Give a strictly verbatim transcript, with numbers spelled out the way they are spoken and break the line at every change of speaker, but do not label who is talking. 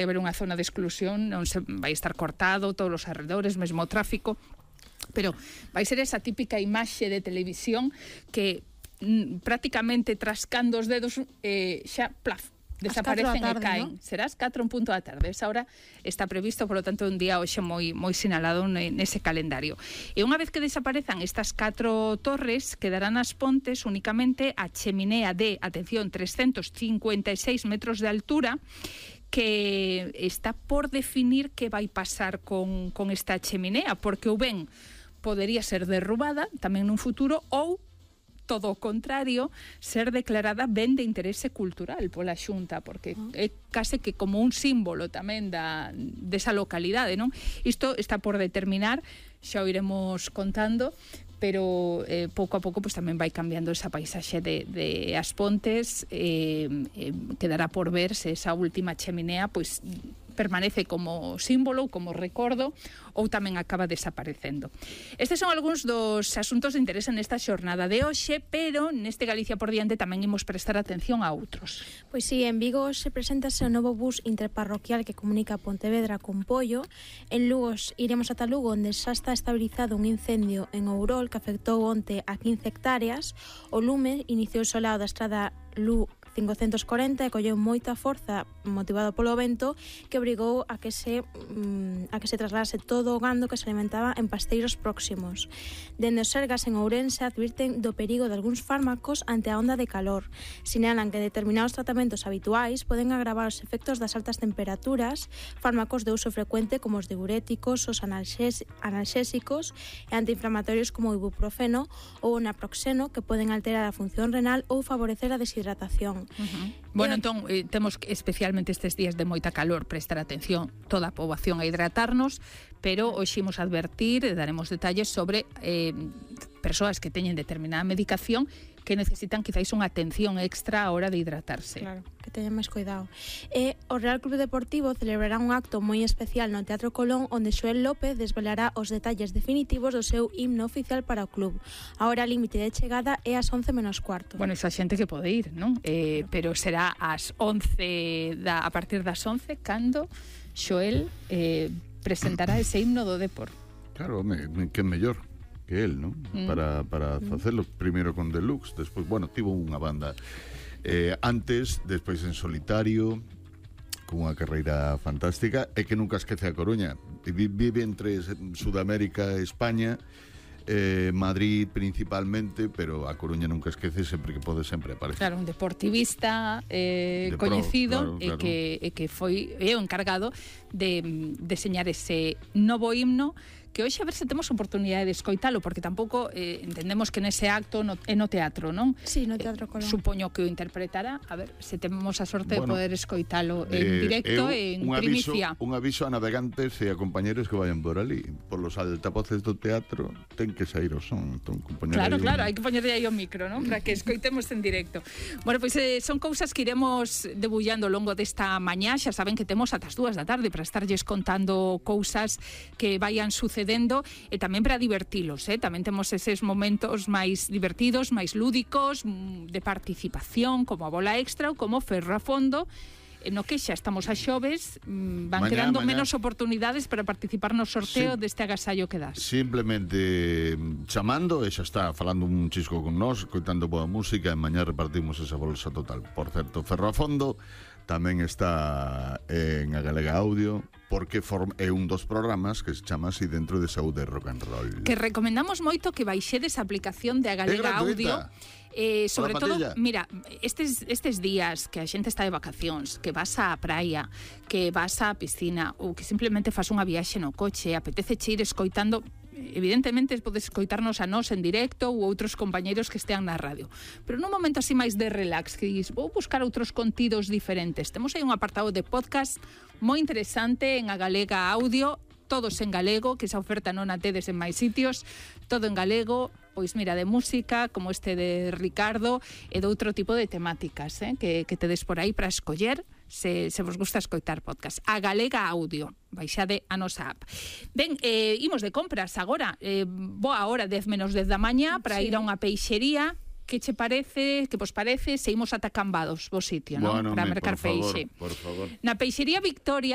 haber unha zona de exclusión, non se vai estar cortado todos os arredores, mesmo o tráfico, pero vai ser esa típica imaxe de televisión que mm, prácticamente trascando os dedos eh, xa, plaf, desaparecen
tarde,
e caen. ¿No? Serás catro en punto da tarde. Esa hora está previsto, por lo tanto, un día hoxe moi moi sinalado nese calendario. E unha vez que desaparezan estas catro torres, quedarán as Pontes únicamente a cheminea de, atención, trescentos cincuenta e seis metros de altura, que está por definir que vai pasar con, con esta cheminea, porque ou ben podería ser derrubada tamén nun futuro, ou todo o contrario, ser declarada ben de interese cultural pola Xunta, porque é case que como un símbolo tamén da, desa localidade, non? Isto está por determinar, xa o iremos contando, pero eh, pouco a pouco pues, tamén vai cambiando esa paisaxe de, de As Pontes, eh, eh, quedará por ver se esa última cheminea pues, permanece como símbolo, como recordo, ou tamén acaba desaparecendo. Estes son algúns dos asuntos de interese nesta xornada de hoxe, pero neste Galicia por diante tamén imos prestar atención a outros.
Pois sí, en Vigo se presentase o novo bus interparroquial que comunica Pontevedra con Pollo. En Lugo iremos ata Lugo, onde xa está estabilizado un incendio en Ourol que afectou onte a quince hectáreas. O lume iniciouse ao lado da estrada Lu cincocentos corenta e colleu moita forza motivado polo vento que obrigou a que se mm, a que se trasladase todo o gando que se alimentaba en pasteiros próximos. Dende os Sergas en Ourense advirten do perigo de algúns fármacos ante a onda de calor. Sinalan que determinados tratamentos habituais poden agravar os efectos das altas temperaturas, fármacos de uso frecuente como os diuréticos, os analxés, analxésicos e antiinflamatorios como o ibuprofeno ou o naproxeno que poden alterar a función renal ou favorecer a deshidratación.
Uh-huh. Bueno, entón, eh, temos que, especialmente estes días de moita calor, prestar atención toda a poboación a hidratarnos, pero hoxe imos advertir e daremos detalles sobre eh, persoas que teñen determinada medicación que necesitan quizáis unha atención extra a hora de hidratarse.
Claro, que teñan máis cuidado. E o Real Club Deportivo celebrará un acto moi especial no Teatro Colón, onde Xoel López desvelará os detalles definitivos do seu himno oficial para o club. A hora límite de chegada é ás once menos cuarto.
Bueno, esa xente que pode ir, non? Eh, claro. Pero será ás once, da, a partir das once, cando Xoel eh, presentará ese himno do Depor.
Claro, me, me, que mellor que él, ¿no? Mm. Para, para mm. facelo primeiro con Deluxe, despois, bueno, tivo unha banda eh, antes, despois en solitario, con unha carreira fantástica, e que nunca esquece a Coruña. Vive entre Sudamérica e España, eh, Madrid principalmente, pero a Coruña nunca esquece, sempre que pode sempre aparece.
Claro, un deportivista eh, de coñecido, pro, claro, claro. E, que, e que foi é o encargado de deseñar ese novo himno, que hoxe a ver se temos oportunidade de escoitalo, porque tampouco eh, entendemos que nese acto no, é no teatro, non?
Sí, no Teatro Colón.
Eh, supoño que o interpretará, a ver se temos a sorte bueno, de poder escoitalo en
eh,
directo
e
en primicia.
Un aviso a navegantes e a compañeros que vayan por ali, por los altavoces do teatro, ten que sair o son, entón,
Claro, claro, un... hai que poñerle aí o micro, non? Para que escoitemos en directo. Bueno, pois pues, eh, son cousas que iremos debullando ao longo desta mañá, xa saben que temos ata as dúas da tarde para estarlles contando cousas que vayan sucedendo e tamén para divertilos, eh? Tamén temos eses momentos máis divertidos, máis lúdicos, de participación, como a bola extra ou como Ferro a Fondo, no que xa estamos a xoves, van mañá, quedando mañá. menos oportunidades para participar no sorteo sí, deste agasallo que das.
Simplemente chamando, e xa está falando un chisco con nós, coitando boa música, e mañá repartimos esa bolsa total. Por certo, Ferro a Fondo tamén está en a Galega Audio, porque form, é un dos programas que se chama así dentro de Saúde Rock and Roll.
Que recomendamos moito que baixedes a aplicación de a Galega Audio. Eh, sobre todo, mira, estes, estes días que a xente está de vacacións, que vas á praia, que vas á piscina, ou que simplemente fas unha viaxe no coche, apetece che ir escoitando, evidentemente podes escoitarnos a nós en directo ou outros compañeiros que estean na radio, pero nun momento así máis de relax, que dis, vou buscar outros contidos diferentes, temos aí un apartado de podcast moi interesante en a Galega Audio, todos en galego, que esa oferta non a tedes en máis sitios, todo en galego, pois mira, de música, como este de Ricardo, e de outro tipo de temáticas, eh, que, que tedes por aí para escoller, se, se vos gusta escoitar podcast. A Galega Audio, baixade a nosa app. Ben, eh, imos de compras agora, eh, boa hora, dez menos dez da mañá, para sí. ir a unha peixería. Que che parece, que vos parece, se imos ata Cambados, vos sitio, non?
Bueno,
para
me,
mercar
por favor,
peixe.
Por favor.
Na peixería Victoria